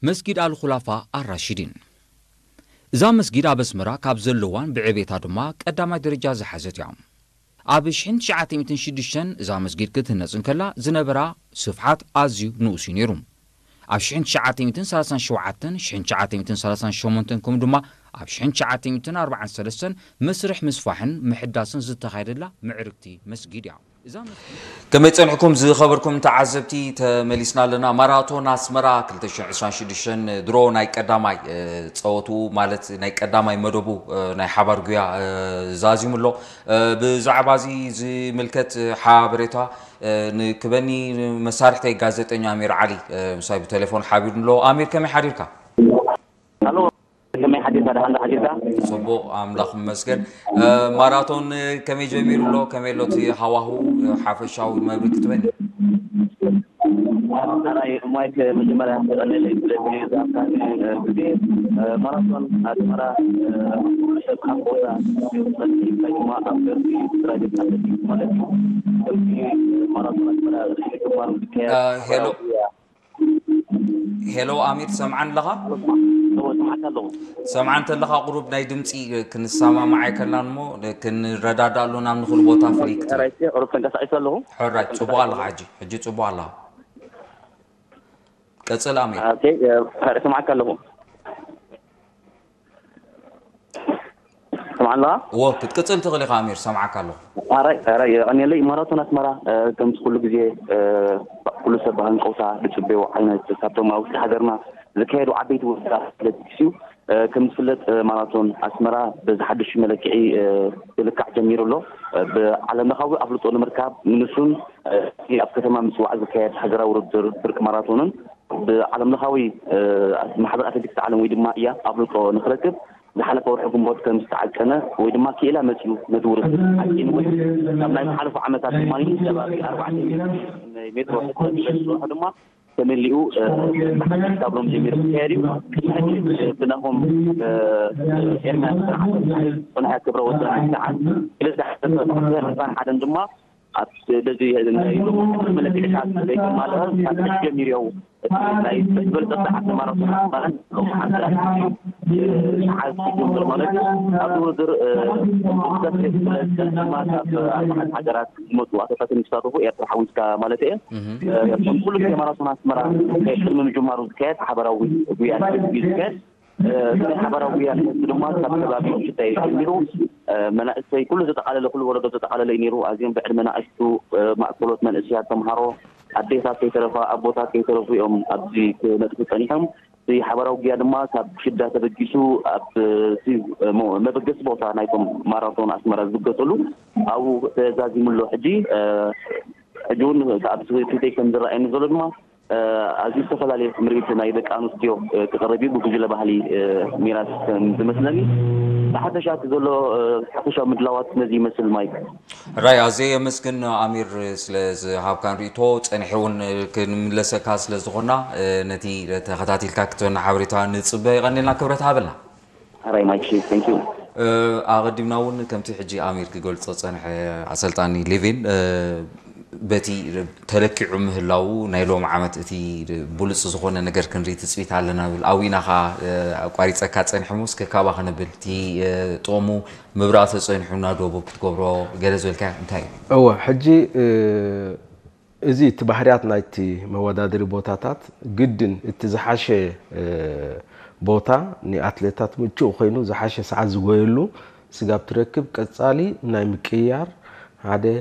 መስጊድ ኣልኹላፋ ኣራሺዲን። እዛ መስጊድ ኣብ ኣስመራ ካብ ዘለዋን ብዕቤታ ድማ ቀዳማይ ደረጃ ዝሓዘት እያ። ኣብ ሽሕን ትሽዓተ ሚእትን ሽዱሽተን እዛ መስጊድ ክትህነጽ እንከላ ዝነበራ ስፍሓት ኣዝዩ ንኡስ እዩ ነይሩ። ኣብ ሽሕን ትሽዓተ ሚእትን ሰላሳን ሸውዓተን፣ ሽሕን ትሽዓተ ሚእትን ሰላሳን ሸሞንተን ከምኡ ድማ ኣብ ሽሕን ትሽዓተ ሚእትን ኣርባዓን ሰለስተን መስርሕ ምስፋሕን ምሕዳስን ዝተኻየደላ ምዕርግቲ መስጊድ እያ። እዛ መስጊድ ከመይ ጸኒሕኩም ዝኸበርኩም ተዓዘብቲ? ተመሊስና ኣለና። ማራቶን ኣስመራ ክልተ ሽሕን ዕስራን ሽዱሽተን ድሮ ናይ ቀዳማይ፣ እ፣ ጸወቱ ማለት ናይ ቀዳማይ መደቡ፣ እ፣ ናይ ሓባር ጉያ፣ እ፣ ዛዚሙ ኣሎ። እ፣ ብዛዕባ እዚ ዝምልከት ሓበሬታ፣ እ፣ ንክበኒ መሳርሕተይ ጋዜጠኛ ኣሚር ዓሊ፣ እ፣ ምሳይ ብቴሌፎን ሓቢሩ ኣሎ። ኣሚር ከመይ ሓዲርካ? ኣሎ፣ ከመይ ሓዲርካ? ደሓን ዶ ሓዲርካ? ጽቡቕ፣ ኣምላኽ ይመስገን። እ፣ ማራቶን፣ እ፣ ከመይ ጀሚሩ ኣሎ? ከመይ ኣሎ እቲ ሃዋሁ፣ እ፣ ሓፈሻዊ መብርሂ ክትበኒ? ኣራይ ማይክ፣ መጀመርያ የቐንየለይ ስለዚ ዝሃብካኒ፣ እ፣ ግዜ። እ፣ ማራቶን ኣስመራ፣ እ፣ ሰብ ካብ ቦታ ወይ ድማ ኣብ ገርቢ ፕራይቬት ኣትሌቲክስ ማለት እዩ። ከምቲ ማራቶን ኣስመራ ርእሲ ግንባር ዝካየድ እ፣ ሄሎ። ሃገራዊ ጉያ። ሄሎ ኣሚር፣ ትሰምዓኒ ኣለኻ? እወ፣ እሰምዓካ ኣለኹ። ትሰምዓኒ እንተለኻ ቁሩብ ናይ ድምፂ ክንሰማማዕ ኣይከልናን እሞ ክንረዳዳእ ኣለና፣ ኣብ ንኹሉ ቦታ ፍልይ ክትብል። ሕራይ፣ ቁሩብ ተንቀሳቒሰ ኣለኹ። ሕራይ፣ ጽቡቕ ኣለኻ ሕጂ፣ ሕጂ ጽቡቕ ኣለኻ። ቀጽል ኣሚር። ኦኬ፣ ሕራይ፣ እሰምዓካ ኣለኹ። ትሰምዓኒ ኣለኻ? እወ፣ ክትቅጽል ትኽእል ኢኻ ኣሚር፣ ሰምዓካ ኣለኹ። ኣራይ፣ ኣራይ፣ የቐንየለይ። ማራቶን ኣስመራ፣ እ፣ ከምቲ ኩሉ ግዜ፣ እ፣ ኩሉ ሰብ ብሃንቀውታ ዝጽበዮ ዓይነት ካብቶም ኣብ ውሽጢ ሃገርና ዝካየዱ ዓበይቲ ውድድራት ኣትሌቲክስ እዩ። እ፣ ከም ዝፍለጥ፣ እ፣ ማራቶን ኣስመራ በዚ ሓድሽ መለክዒ፣ እ፣ ክልካዕ ጀሚሩ ኣሎ። እ፣ ብዓለም ለኻዊ ኣፍልጦ ንምርካብ ንንሱን፣ እ፣ ኣብ ከተማ ምጽዋዕ ዝካየድ ሃገራዊ ውድድር ብርቂ ማራቶንን ብዓለም ለኻዊ፣ እ፣ ማሕበር ኣትሌቲክስ ዓለም ወይ ድማ እያ ኣፍልጦ ንኽረክብ ዝሓለፈ ወርሒ ግንቦት ከም ዝተዓቀነ ወይ ድማ ክኢላ መጺኡ ነቲ ውድድር ዓቂንዎ እዩ። ካብ ናይ ዝሓለፉ ዓመታት ድማ ከባቢ ኣርባዕተ ሚእቲ ሜትሮ ሕጽረት ዝበጽሖ ድማ ተመሊኡ፣ እ፣ ብሓድሽ ካብ ሎም ጀሚሩ ክካየድ እዩ። ሕጂ፣ እ፣ ብናሆም፣ እ፣ ኤርምያስ ጽንዓት ክብረ ወሰን ሰዓት ክልተ ዕስራን ሓደን ድማ ኣብ በዚ ናይ ሎም መለክዒታት ዘይተማልአ ካብ ሕጂ ጀሚሩ እዩ። እቲ ናይ ዝበለጸ ሰዓት ማራቶን ማለት ሎም ሓንቲ ሰዓት ክጅምር ማለት እዩ። ኣብዚ ውድድር፣ እ፣ ብዝተፍልየ ብዝበለጸ ድማ ካብ ኣርባዕተ ሃገራት ዝመጹ ኣትሌታት ዝሳተፉ፣ ኤርትራ ሓዊስካ ማለት እየ። እህ። እ፣ ከም ኩሉ ግዜ ማራቶን ኣስመራ ቅድሚ ምጅማሩ ዝካየድ ሓበራዊ ጉያ እዩ ዝካየድ። እ፣ እዚ ናይ ሓባራዊ ጉያ ንሕዚ ድማ ካብ ከባቢ ሽታይ ጀሚሩ፣ እ፣ መናእሰይ ኩሉ ዘጠቓለለ፣ ኩሉ ወለዶ ዘጠቓለለ እዩ ነይሩ። ኣዝዮም ብዕድመ ንኣሽቱ፣ እ፣ ማእከሎት መንእሰያት፣ ተምሃሮ፣ ኣዴታት ከይተረፋ፣ ኣቦታት ከይተረፉ እዮም ኣብዚ ክነጥፉ ጸኒሖም። እቲ ሓባራዊ ጉያ ድማ ካብ ሽዳ ተበጊሱ ኣብ፣ እ፣ እቲ፣ እ፣ ሞ-፣ መበገሲ ቦታ ናይቶም ማራቶን ኣስመራ ዝብገሰሉ ኣብኡ ተዛዚሙ ኣሎ። ሕጂ፣ እ፣ ሕጂ እውን ኣብዚ ፊተይ ከም ዝረኣየኒ ዘሎ ድማ እ፣ ኣዝዩ ዝተፈላለየ ስምዒት ናይ ደቂ ኣንስትዮ፣ እ፣ ክቐርብ እዩ። ብጉጅለ ባህሊ፣ እ፣ ሚራስ ከም ዝመስለኒ። ብሓፈሻ እቲ ዘሎ፣ እ፣ ሓፈሻዊ ምድላዋት ነዚ ይመስል ማይክ። ራይ፣ ኣዝየ የመስግን ኣሚር ስለ ዝሃብካን ርእይቶ። ጸኒሐ እውን ክንምለሰካ ስለ ዝኾና፣ እ፣ ነቲ ተኸታቲልካ ክትበና ሓበሬታ ንጽበ። የቐንየልና፣ ክብረት ሃበልና። ሕራይ ማይክ፣ thank you። እ፣ ኣቐዲምና እውን ከምቲ ሕጂ ኣሚር ክገልጾ ጸንሐ ኣሰልጣኒ ሌቪን፣ እ፣ በቲ ተለኪዑ ምህላዉ ናይ ሎሚ ዓመት እቲ ብሉጽ ዝኾነ ነገር ክንርኢ ትጽቢት ኣለና ብል። ኣዊና ኸኣ፣ እ፣ ኣቋሪጸካ ጸንሐ እሞ እስከ ካባ ከነብል እቲ፣ እ፣ ጥቕሙ ምብራቕ ተጸኒሑ ናብ ደቡብ ክትገብሮ ገለ ዝበልካዮ እንታይ እዩ? እወ፣ ሕጂ፣ እ፣ እዚ እቲ ባህርያት ናይቲ መወዳደሪ ቦታታት ግድን እቲ ዝሓሸ፣ እ፣ ቦታ ንኣትሌታት ምቹእ ኮይኑ ዝሓሸ ሰዓት ዝጎየሉ ስጋብ ትረክብ ቀጻሊ ናይ ምቅይያር ሓደ